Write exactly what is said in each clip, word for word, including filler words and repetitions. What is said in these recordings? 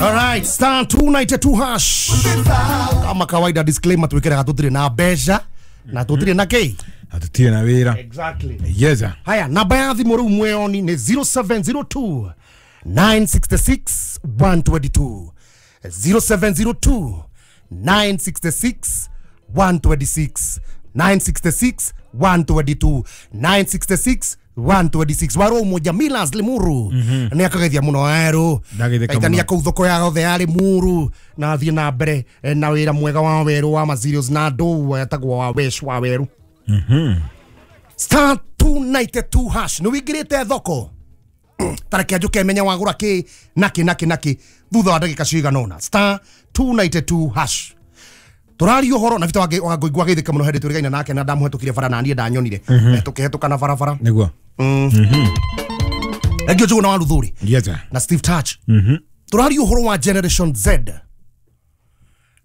Alright, star two ninety-two hash. Kama kawaida disclaimer tuwekere tutire na mbeca na tutire na kei. Na tutire na wira. Exactly. Yes. Haya, namba ya thimu riu mweoni ni zero seven zero two nine six six one two two. zero seven zero two nine six six one two six. nine six six one two two. nine six six one two six. Waro moja Milas Limuru. Ni akagethia muno ero. Kaitania kuu thoko ya othe ya Limuru na thie na mbere na wira mwega wa weru wa materials na ndu etagwo wa wesh wa weru. Mhm. Star two ninety-two hash. Ni wingirite thoko. Tareke njuke menya wagura ki naki naki naki thutha wa ndagika cigana ona. Star two ninety-two hash. Turari uhoro na vita wage wangũigua geithĩka mũno hĩndĩ tũrĩgaina nake na ndamũhetũkire bara na niĩ ndanyonire tũkĩhetũka na barabara nĩguo. Mhm. Engio Njũgũ na wa Ruthuri. Yes. Na Steve Touch. Mhm. Turari uhoro wa Generation Z.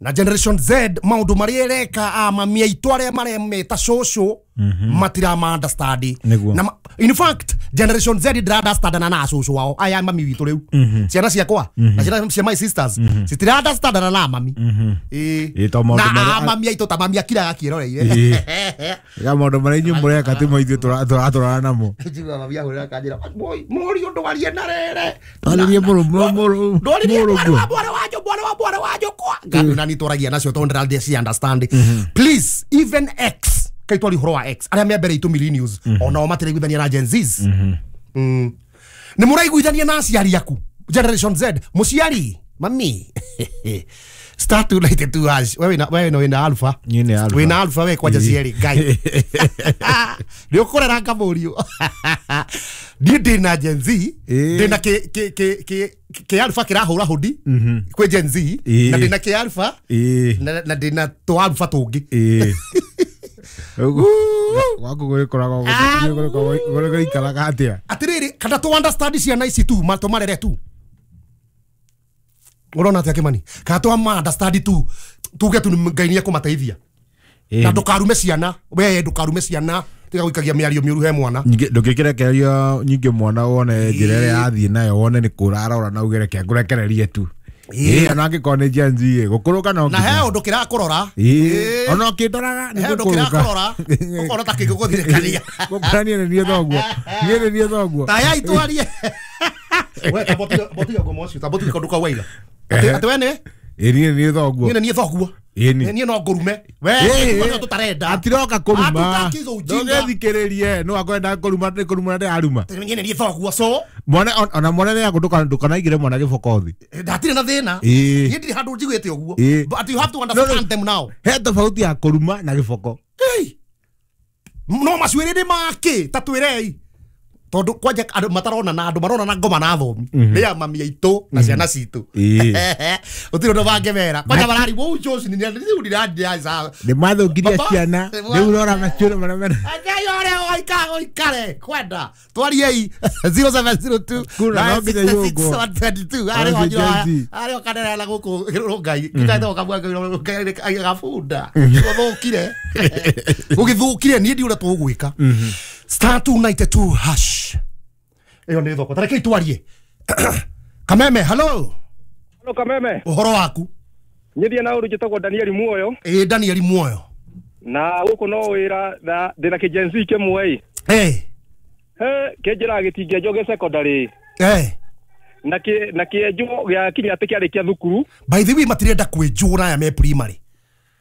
Na Generation Z maundu maria ereka a mami aitũ arĩa maremeta cũcũ matira ma understand. Na in fact Generation Z ndira understand na na cũcũ wao aya mami witũ rĩu. Ciana ciakwa na ciana cia my sisters citira understand na na mami. Eh. Na mami aitũ ta mami akiraga kĩroreire. Ga maundu maria inyuĩ mũreka ti mo ithuĩ tũratũrana namo. Njiguaga mami ahũrĩra kanjĩra mũriũ ndwarie na rere. Ndwaririe mũrũ mũrũ. Ndwaririe mwarĩ wa mwarĩ wa mwarĩ wa mwarĩ wa njũkwa. Ngandũ na nitwaragia nacio tondũ ndĩrathiĩ ci understand. Please even X kaitwari horo wa X aria me mbere itu millennials ona o matiraiguithania na Gen Zs. Mm. Ni muraiguithania na aciari aku Generation Z muciari mami star two ninety-two hash. Wewe na wewe no wina alpha. Nyine alpha. Wina alpha we kwanja cieri ngai. Ni ukurera ngamurio. Ndi ndina Gen Z, ndina ke ke ke ke ke alpha kirahura hudi kwi Gen Z na ndina ke alpha na ndina to alpha tungi. Waku gũgĩkoragwo gũgĩikaraga atĩa? Atiriri kana to understand ciana ici tu ma tũmarere tu. Ũrona atĩa Kimani? Kana to ma understand tu tuge tu Ngai nĩ ekũmateithia. Na ndũkarume ciana, we ndũkarume ciana tiga gũikagia mĩario mĩũru he mwana. Nyingĩ ndũngĩkĩrekereria nyingĩ mwana wone njĩra ĩrĩa athiĩ nayo wone nĩ kũra arora na uge reke ngũrekererie tu. Ĩĩ ona angĩkorwo nĩ Gen Z ĩ gũkũrũka no na he ũndũ kĩrakũrora. Ĩĩ ona ũkĩndoraga nĩ gũkũrũka. He ũndũ kĩrakũrora ũkona ta kĩngĩgũthirĩkania. Gũkũrania nĩ niĩ thoguo. Niĩ nĩ niĩ thoguo. Ta itwarie. We ta botiga botiga ngomo ũcio ta botiga kũndũ kwa waira. Atĩ we nĩ? Ĩĩ niĩ nĩ thoguo. Niĩ nĩ niĩ thoguo. Ĩni. Niĩ no ngũrume. We nĩ tũtarenda. Atiroka kũruma. Ndũgethikĩrĩrie no akwenda kũruma nĩ kũruma na aruma. Niĩ nĩ niĩ thoguo so. Mwana ona mwana nĩ akũndũka ndũkanaigire mwana gĩboko thĩ. Ndatirĩ na thĩna. Niĩ ndirĩ handũ njiguĩte ũguo. But you have to understand them now. He tofauti ya kũruma na gĩboko. No macuĩrĩ nĩ makĩ ta twĩrei. Tondu kwanja andũ matarona na andũ marona na ngoma na thomi nĩ ya mami aitũ na ciana citũ. Gũtirĩ ũndũ mangĩmera kwanja mararigwo ũũ Josh nĩ rĩu ndĩrandiaca nĩ mathũkirie ciana rĩu rora macuĩrĩ marĩa mena Ngai ũrĩa ũikaga ũikare kwenda twariei zero seven zero two nine six six one two two arĩ okanderera gũkũ Ngai kitaitwo kamwe Ngai gabunda gũthũkire gũgĩthũkire niĩ ndiũrĩa tũgwĩka. Star two ninety-two hash. Eyo nĩ thoko. Tareke itwarie. Kameme, hello. Hello Kameme. Ũhoro waku? Nyithia na ũru njĩtagwo Daniel Muoyo. Ĩ Daniel Muoyo. Na gũkũ no wĩra na ndĩna kĩ Gen Z kĩmwe ĩ. Eh. He kĩnjĩraga gĩtingĩenjwo gĩ secondary. Eh. Na kĩ na kĩenjwo gĩa kinya atĩ kĩarĩkia thukuru. By the way matirenda kwĩnjwo aya me primary.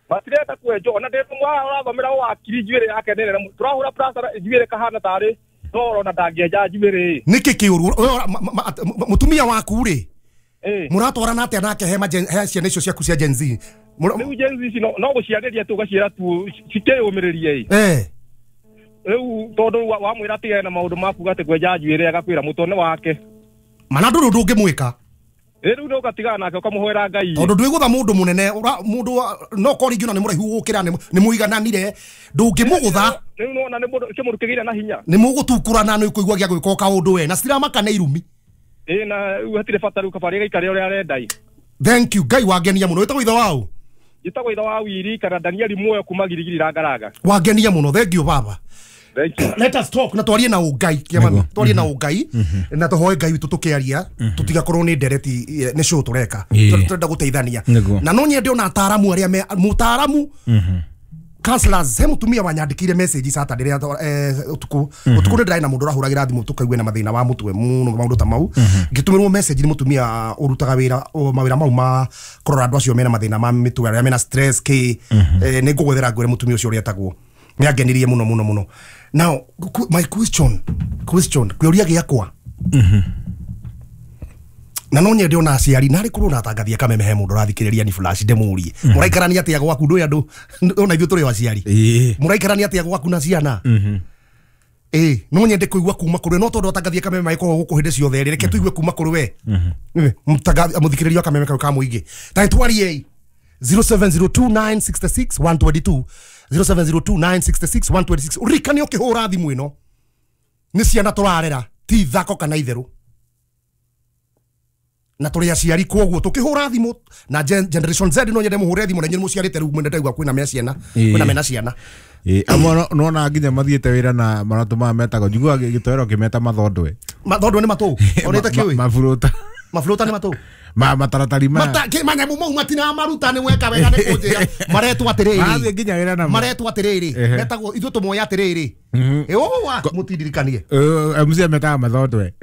Matirenda kwenjwo ona ndĩ mwa ũrathomera wakiri njuĩrĩ yake nene tũrahũra plaster njuĩrĩ kahana tarĩ toro na ndangĩenja njuĩrĩ. Nĩkĩ kĩũru mũtumia waku rĩ mũratwarana atĩa nake he he ciana icio ciaku cia Gen Z? Rĩu Gen Z ici no gũciarĩria tu ũgaciĩra tu cikĩyũmĩrĩrie ĩ. Eh. Rĩu tondũ wamwĩra atigane na maũndũ ma kuga atĩ kwenja njuĩrĩ agakwĩra mũtwe wake. Mana ndũrĩ ũndũ ũngĩmwĩka. Rĩu no ũgatigana nake ũkamũhoera Ngai. Tondũ ndwĩgũtha mũndũ mũnene mũndũ no korwo rĩngĩ ona nĩ mũraihu gũkĩra nĩ mũigananire ndũngĩmũgũtha. Rĩu nĩwona nĩ mũndũ kĩmũndũ kĩgĩire na hinya. Nĩ mũgũtukurana nĩ ũkũigua gĩa gwĩka o kaũndũ we na citiramaka nĩ irumi. Ĩ na rĩu hatirĩ bata rĩu kaba rĩgaikare ũrĩa arenda ĩ. Thank you Ngai wangenia mũno. Wĩtagwo ithe waũ? Njĩtagwo ithe wa Wiri kana Daniel Muoyo kuma Girigiri Rangaranga. Wangenia mũno, thank you baba. Thank you. Let us talk na twarie na ungai kiamani twarie na ungai na tuhoe ngai witu tukiaria tutigakorwo ni ndereti ni show tureka turenda guteithania na no nyende ona ataramu aria me mutaramu counselors he mutumia wanyandikire message Saturday ria utuku utuku ni ndai na mundu urahuragira thimu tukaigue na mathina wa mutwe muno maundu ta mau ngitumirwo message ni mutumia urutaga wira mawira mau ma kurora andu acio mena mathina ma mitwe aria mena stress ki ni ngugwethera ngwire mutumia ucio uria etagwo ni angenirie muno muno muno. Now my question question kiuria giakwa na no nyende ona aciari na rikorwo na tangathia kameme he mundu rathikiriria ni flash ndemurie muraikarania atia gwaku ndu andu ona ithuĩ tũrĩ aciari muraikarania atia gwaku na ciana eh no nyende kuigua kuma kuri no tondu atangathia kameme maikorwo guku hindi ciothe reke tuigue kuma kuri we mutagathia muthikiriria kameme kau ka muingi ta twarie zero seven zero two nine six six one two two zero seven zero two nine six six one two six urikane ukihura thimu ino ni ciana turarera ti thako kana itheru na turi aciari koguo tukihura thimu na generation Z no nyende muhure thimu na nyene muciarite riu mwende ndaigua kwina me ciana kwina mena ciana eh amwe nona nginya mathiete wira na maratu ma metagwo njiguaga gitoero kimeta mathondwe mathondwe ni matu onete kiui mafuruta mafuruta ni matu ma mataratari ma mata ki manyamu mau matina maruta ni weka wega ni kunjira maretwo atiriri mathie nginya wira na maretwo atiriri metagwo ithuĩ tumoya atiriri eh owa mutindirikanie eh M C metaga mathondwe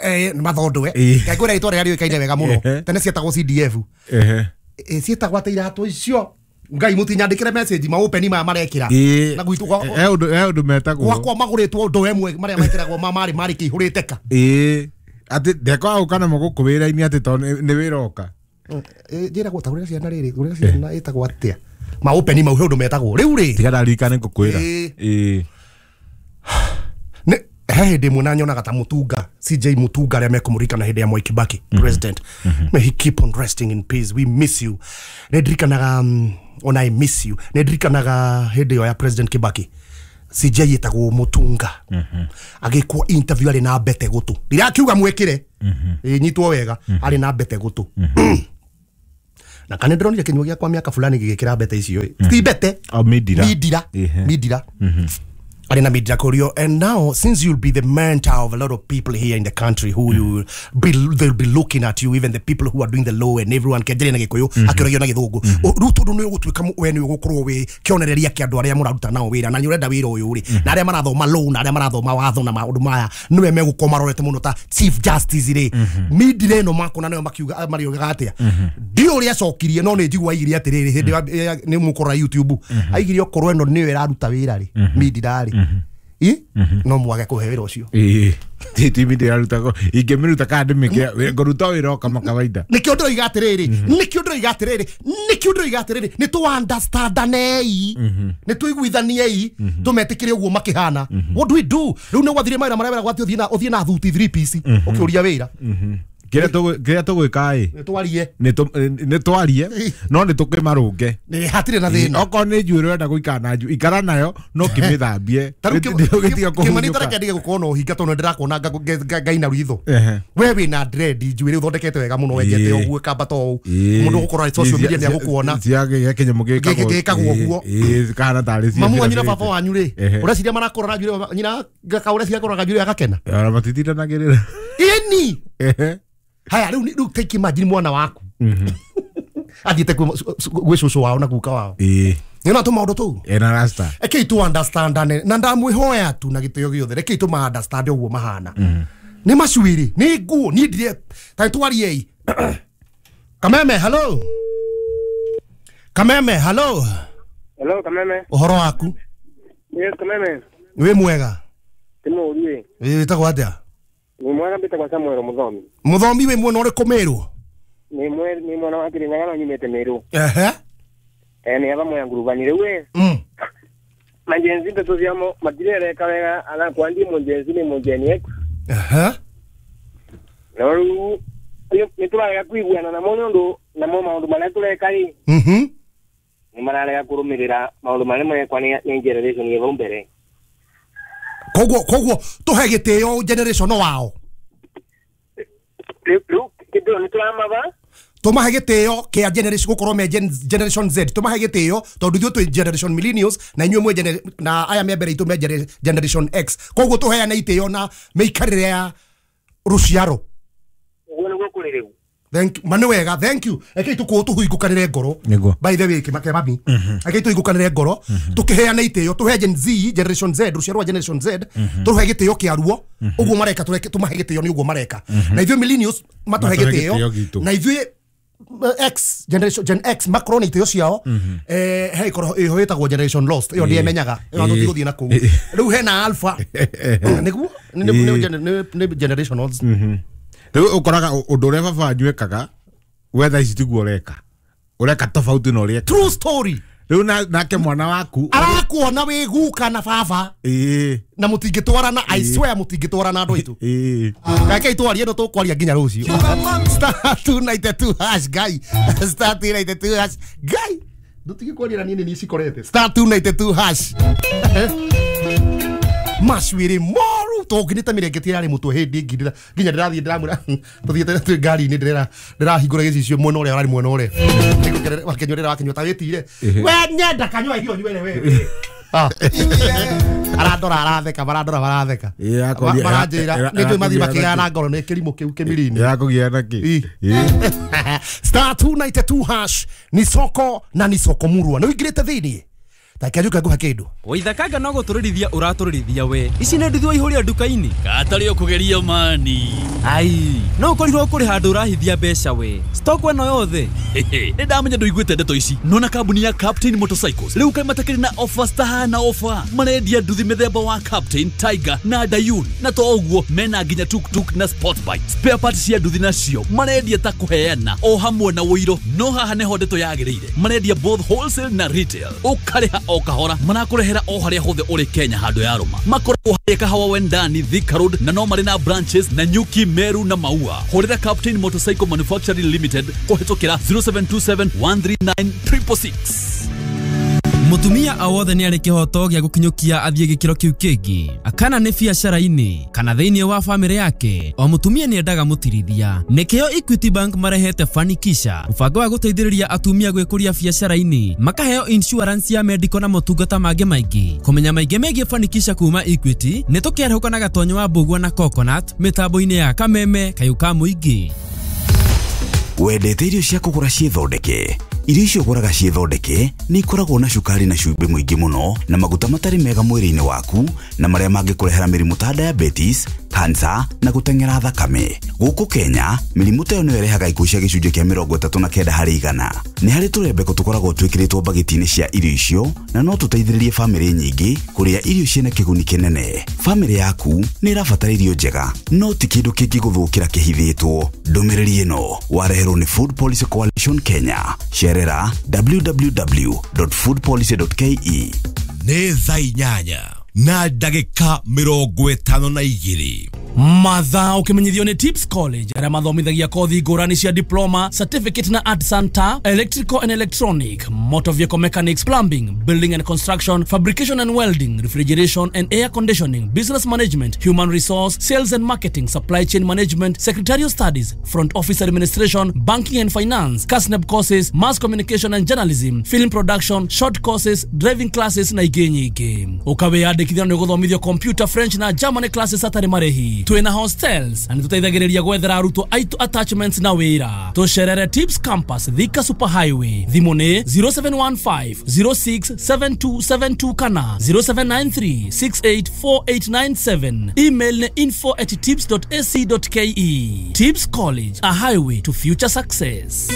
eh mathondwe ngai ngwira itwa rĩa rĩũĩkaine wega mũno tene cietagwo C D F ehe cietagwo atĩ iratũ icio ngai mutinyandikire message ma open ma marekira na gwitũ eh undu eh undu metagwo gwakwa maguritwo undu emwe maria mekiragwo ma mari mari kihurite ka eh ati ndekwa uka na muguku wira-ini ati to ni wira oka njira gwatagurira ciana riri gurira ciana itagwo atia ma open ma undu metagwo riu ri tiga ndarikane ngukwira eh ne he hindi mwe nyonaga ta Mutunga C J Mutunga aria mekumurikana hindi ya Mwai Kibaki president may he keep on resting in peace, we miss you. Ndirikanaga um, ona I miss you ndirikanaga hindi yo ya president Kibaki C J yetagwo Mutunga agikwo interview ari na mbete gutu ndirakiuga mwikire nyitwo wega ari na mbete gutu na kana ndironire kinyua giakwa miaka fulani gigikira mbete icio ti mbete o midira midira midira Arena Midira Korio. And now, since you'll be the mentor of a lot of people here in the country who you be, they'll be looking at you, even the people who are doing the law and everyone kenjere na gikuyu akirogio na githungu riu tondu ni ugutuika we ni ugukorwo wi kionereria kia andu aria muraruta nao wira na ni urenda wira uyu ri na aria marathoma law na aria marathoma watho na maundu maya niwe megukorwo marorete muno ta chief justice ri midire ino makona nayo makiuga mariugaga atia ndi uria acokirie no ni njigua aigire atiriri hindi ni mukorora YouTube aigire okorwo eno niyo iraruta wira ri midira ri i no mwage kuhe wira ucio eh ti ti midira ruta ko ingemiruta ka ndimike nguruta wira kama kawaida nikio ndiroiga atiriri nikio ndiroiga atiriri nikio ndiroiga atiriri ni tu understandanei ni tuiguithaniei tumetikire uguo makihana. What do we do riu ni gwathire mawira maria wera gwati uthie na uthie na thuti three piece ukiuria wira kiria tugu kiria tugwika i ni twarie ni twarie no ni tukimarunge ni hatire na thina okorwo ni njuĩ urenda guikara na njuĩ ikara nayo no kimithambie kimani tareke ndige gukorwo na uhinga tondu ndirakuona ngaina ritho we wina dread njuĩ riu thondekete wega muno wenjete uguo kamba to u mundu gukorwo social media ni agukuona cia kinyamu gikagwo guo kana tari cia mamu wanyu na baba wanyu ri ureciria marakorora njuĩ nyina gakaureciria kororaga njuĩ agakena ona matitindanagĩrĩra ini haya riu riu take imagine mwana waku athiete gwĩ cũcũ wao na guka wao ĩĩ nĩ tũ maũndũ tũu ena rasta rekei tu understand na ndamwĩhoya tu na gĩtĩo gĩothe rekei tu ma understand ũguo mahana nĩ macuĩrĩ nĩ nguo niĩ ndire ta twariei Kameme hello Kameme hello hello Kameme ũhoro waku yes Kameme wĩ mwega ti mũũru ĩ wĩtagwo atĩa ni mwana mbitagwo Samuel Muthomi Muthomi wi mwena uriku Meru ni mwe ni mwana wa Kirinyaga no nyumite Meru ehe eh ni aba moya ngurubani riu we mm majenzi ndeto ciamo matirereka wega ana kwandi mujenzi ni mujeni eku ehe no riu ni turarega kuiguana namo ni undu namo maundu maria tureka ri mhm ni mararega kurumirira maundu maria marekwa ni generation ya vau mbere koguo koguo tuhe gitio generation wao riu kindu ni turamaba Tumahe gitio kia generation gukorwo me generation Z. Tumahe gitio tondu ithuĩ twĩ generation millennials na inyuĩ mwe na aya me mbere itũ me generation X. Koguo tuheane itio na mĩikarĩre ya ruciaro. Ũguo nĩguo kũrĩ rĩu. Thank you. Mani wega, thank you. Eke tuko tuhuigukanire ngoro. By the way, kimake mami. Eke tuhuigukanire ngoro. Tukiheana itio, tuhe Gen Z, Generation Z, ruciaro rwa Generation Z, tuhe gitio kia ruo. Uguo mareka tumahe gitio ni uguo mareka. Na ithuĩ millennials matuhe gitio. Na ithuĩ X generation Gen X Macron itio ciao eh he ikoro iho itagwo generation lost iyo ndiemenyaga iyo tutigothie na kuu riu hena alpha niguo ni generation lost. Riu ukoraga undu uria baba wanyu ekaga we thaa ici tiguo ureka ureka tofauti na uria true story. Riu nake mwana waku arakuona wi guka na baba na mutingitwarana, I swear mutingitwarana andu aitu. Kake itwarie no tukwaria nginya rucio. Star two ninety-two hash guy, star two ninety-two hash guy, ndutige kwaria na niĩ ni cikorete star two ninety-two hash macuire moru tonginite mirengeti yarĩ mũtwe hĩndĩ ĩngĩ nginya ndĩrathiĩ ndĩramwĩra tũthiĩte twĩ ngari-inĩ ndĩrera ndĩrahingũra gĩcicio mwena ũrĩa ũrarĩ mwena ũrĩa wakĩnyua wakĩnyua ta wĩtire we nyenda kanyua irio nywere we arandora aratheka marandora maratheka maranjĩra nĩ njũĩ mathiĩ makĩgana na ngoro nĩ kĩrimũ kĩu kĩmiri-inĩ yakũgĩa na kĩ. Star two ninety-two hash ni soko na ni soko murua nĩ ũingĩrĩte thĩinĩ takiajuka nguha kindu waithakanga no gutururithia uratururithia we ici nĩ nduthi waihuria nduka-inĩ katari ukugeria mani ai no ukorirwo kuri handu urahithia mbeca we stock eno yothe nĩ ndamenya nduiguĩte ndeto ici nona kambuni ya Captain Motorcycles rĩu kaĩ matakĩrĩ na offers tahana offer marendia nduthi mĩthemba wa Captain Tiger na Dayun na to ũguo mena nginya tuktuk na sport bike spare parts cia nduthi nacio marendia ta kũheana o hamwe na ũiro no haha nĩho ndeto yagĩrĩire marendia both wholesale na retail ũkarĩha o kahora marakurehera o haria hothe uri Kenya handu ya ruma makoragwo haria Kahawa Wendani Thika Road na no mari na branches na Nyuki Meru na Maua. Hurira Captain Motorcycle Manufacturing Limited kuhitukira zero seven two seven one three nine triple six. Mutumia awothe nĩ arĩ kĩhoto gĩa gũkinyũkia athiĩ gĩkĩro kĩu kĩngĩ akana nĩ biacara-inĩ kana thĩinĩ wa famĩlĩ yake o mutumia nĩ endaga mũtirithia nĩkĩo Equity Bank marehete Fanikisha mũbango wa gũteithĩrĩria atumia gwĩkũria biacara-inĩ makaheo insurance ya medical na motungata mangĩ maingĩ kũmenya maingĩ megiĩ Fanikisha kuma Equity nĩ tũkĩarahũka na Gatonyo wa Mbũgua na Coconut mĩtambo-inĩ ya Kameme Kayũ ka Mũingĩ. Wendete irio cia kũgũra ciĩthondeke irio icio ũgũraga ciĩthondeke nĩ ikoragwo na cukari na cumbĩ mũingĩ mũno na maguta matarĩ mega mwĩrĩ-inĩ waku na marĩa mangĩkũrehera mĩrimũ ta diabetes, cancer na gũteng'era thakame. Gũkũ Kenya mĩrimũ ta ĩyo nĩyo ĩrehaga ikuũ cia gĩcunjĩ kĩa mĩrongo ĩtatũ na kenda harĩ igana. Nĩ harĩ tũrembeko tũkoragwo twĩkĩrĩtwo mbagiti-inĩ cia irio icio na no tũteithĩrĩrie famĩlĩ nyingĩ kũrĩa irio ciĩna kĩguni kĩnene. Famĩlĩ yaku nĩ ĩrabatara irio njega no ti kĩndũ kĩngĩgũthũkĩra kĩhithĩtwo. Ndũmĩrĩri ĩno wareherwo nĩ Food Policy Coalition Kenya. Cerera w w w dot food policy dot k e. Nĩ thaa inyanya na ndagĩka mĩrongo ĩtano na igĩrĩ. Mathaa ukimenyithio ni Tips College aria mathomithagia kothi ngũrani cia diploma, certificate na art center, electrical and electronic, motor vehicle mechanics, plumbing, building and construction, fabrication and welding, refrigeration and air conditioning, business management, human resource, sales and marketing, supply chain management, secretarial studies, front office administration, banking and finance, KASNEB courses, mass communication and journalism, film production, short courses, driving classes na ingĩ nyingĩ. Ũkawĩyandĩkithia nĩ ũgũthomithio computer, French na German classes hatarĩ marĩhi. Twina hostels na nĩtũteithagĩrĩria gwethera arutwo aitũ attachments na wĩra. Tũcerere Tips Campus Thika Super Highway. Thimũ nĩ zero seven one five zero six seven two seven two kana zero seven nine three six eight four eight nine seven. Email nĩ info at tips dot a c dot k e. Tips College, a highway to future success.